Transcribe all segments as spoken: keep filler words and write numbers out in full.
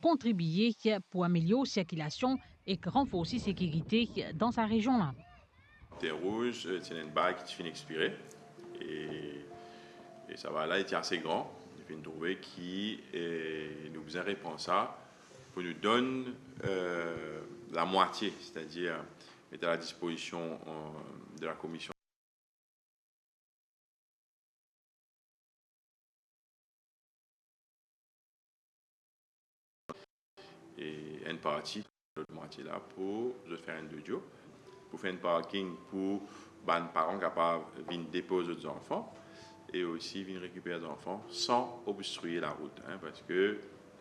kontribie pou amelior sirkilasion ek ranforsi sekirite dan sa rezion la. Terre Rouge, eh, ti ena enn bal ki ti finn expire e, e sa bal la, li ti ase gran. Nou finn trouve ki, eh, nou bizin repran sa pou nou donn, eh, lamwatie, setadir met a la dispozision, eh, de la komision e enn parti, lot mwatie la, pou zot fer enn dodio, pou fer enn parking pou bann paran kapav vinn depoz zot zanfan e osi vinn rekiper zanfan san obstrie larout, hein, parski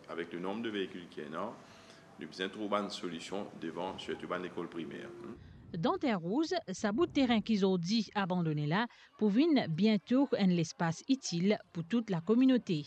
avek le nonb de veikil ki ena, nou bizin trouv bann solision devan, sirtou bann lekol primer, hein. Dan Terre Rouge, sa bout terin ki zordi abandone la pou vinn biento enn lespas itil pou tou lakominote.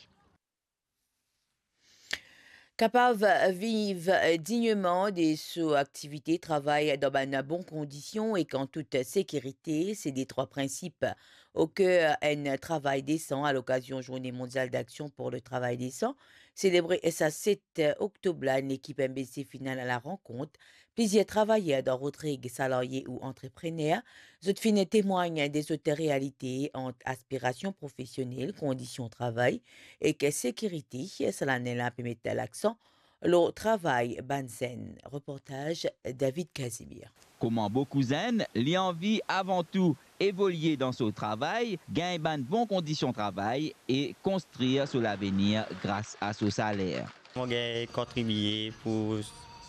Kapav viv digneman de so aktivite, travay dan bann bon kondision ek an tout sekirite, se detrwa prinsip oker enn travay desan. A lokazion Zourne Mondial Daksion pou le Travay Desan, selebre sa set oktob la, enn lekip M B C finn al a la rankont plizier travayer dan Rodrig, salarie ou antreprener. Zot finn temwagn de zot realite ant aspirasion profesionel, kondision travay ek sekirite. Sa lane la pe met laksan lor travay bann zenn. Reportaz David Casimir. Kouma boukou zenn, li anvi avan tou evolie dan so travay, gagn bann bon kondision travay e konstrir so lavenir gras a so saler. Mo gagn kontribie pou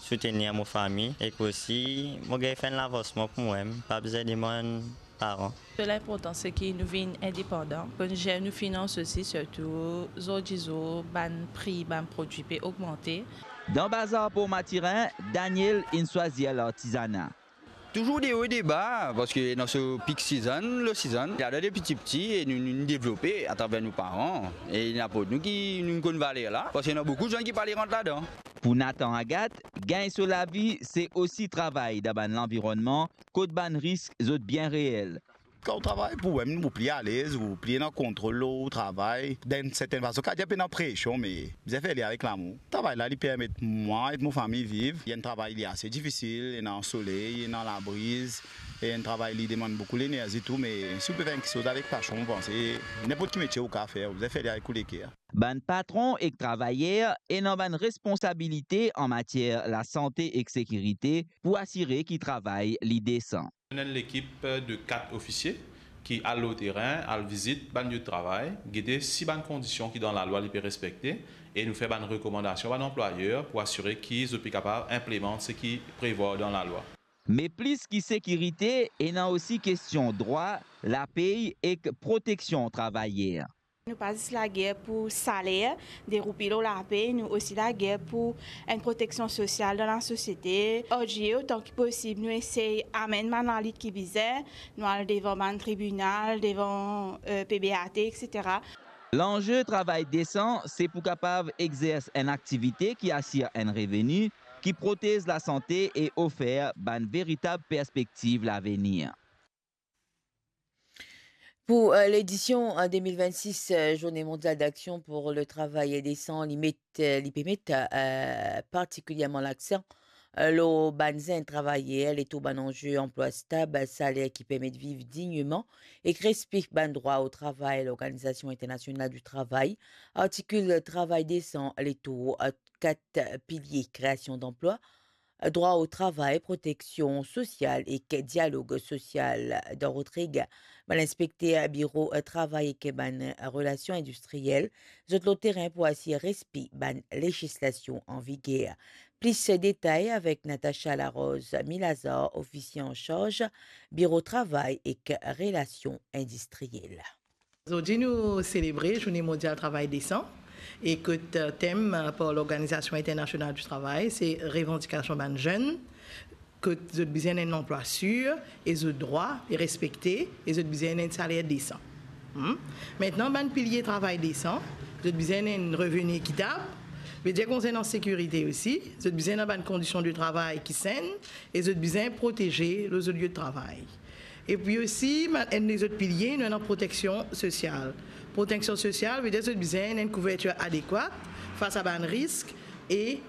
soutenir mo fami ek osi mo gagn fer enn lavansman pou mwa mem, pa bizin demann paran. Linportan se ki nou vinn indepandan, pou nou zer nou finans osi, sirtou zordi zour bann pri bann prodwi pe ogmante. Dan bazar Port Mathurin, Daniel inn swazir lartizana. Touzour de o e de ba, parski dan so peak season, low season, li al de piti piti e nou, nou, nou devlope atraver nou paran. E li aport nou ki nou konn valer la, parski ena boukou zenn ki pa le rant ladan. Pou Nathan Agathe, gagn so lavi se osi travay dan bann lanvironnman kot bann risk zot bien reel. Kan ou travay pou ou mem, ou pli alez, ou pli ena kontrol lor ou travay. Dan enn sertenn fason, kapav dir pena presion, me bizin fer li avek lamour. Travay la, li permet mwa ek mo fami viv. Li enn travay, li ase difisil, ena soley, ena labriz, e enn travay, li demann boukou lenerzi tou, me si ou pe fer enn kiksoz avek pasion, mo panse ninport ki metie ou kapav fer, ou bizin fer li avek ou leker. Bann patron ek travayer ena bann responsabilite an matier lasante ek sekirite pou asire ki travay li desan. Nou ena enn lekip de kat ofisie ki al lor terin, al vizit bann lie de travay, gete si bann kondision ki dan lalwa li pe respekte, e nou fer bann rekomandasion bann anplwayer pou asire ki zot pe kapav inplemant seki prevwar dan lalwa. Me plis ki sekirite, ena osi kestion drwa, lapey ek proteksion travayer. Nou pa zis lager pou saler, de roupi lor lapey, nou osi lager pou enn proteksion sosial dan lasosiete. Ar G A, otan ki posib, nou esey amenn bann lalit ki bizin, nou al devan bann tribinal, devan, eh, P B A T, et cetera. Lanze travay desan, se pou kapav exers enn aktivite ki asir enn reveni, ki protez lasante e ofer bann veritab perspektiv lavenir. Pou, eh, ledision, eh, de mil vennsis, eh, Zourne Mondial Daksion pou le Travay Desan, li met, eh, li pe met, eh, partikilierman laksan, eh, lor bann zenn travayer, letour bann anze anplwa stab, saler ki permet viv digneman ek respe bann drwa o travay, Lorganizasion Internasional di Travay, artikil Travay Desan, letour, eh, kat pilie, kreasion danplwa, drwa o travay, proteksion sosial ek dialog sosial. Dan Rodrig, bann inspekter biro travay ek bann relasion indistriel, zot lor terin pou asir respe bann lezislasion an viger. Plis detay avek Natacha Larose Milazar, ofisie ansarz biro travay ek relasion indistriel. Zordi nou selebre Zourne Mondial Travay Desan, e kot, eh, tem, eh, par Lorganizasion Internasional di Travay, se revandikasion bann zenn, kot zot bizin enn lanplwa sir, e zot drwa e respekte, e zot bizin enn saler desan. Hmm? Mintnan, bann pilie travay desan, zot bizin enn reveni ekitab, vedir konsernan sekirite osi, zot bizin dan bann kondision de travay ki senn, e zot bizin proteze lor zot lie de travay. Epi osi, ma-, enn lezot pilie, nou ena proteksion sosial. Proteksion sosial, vedir zot bizin enn kouvertir adekwat fas a bann risk, E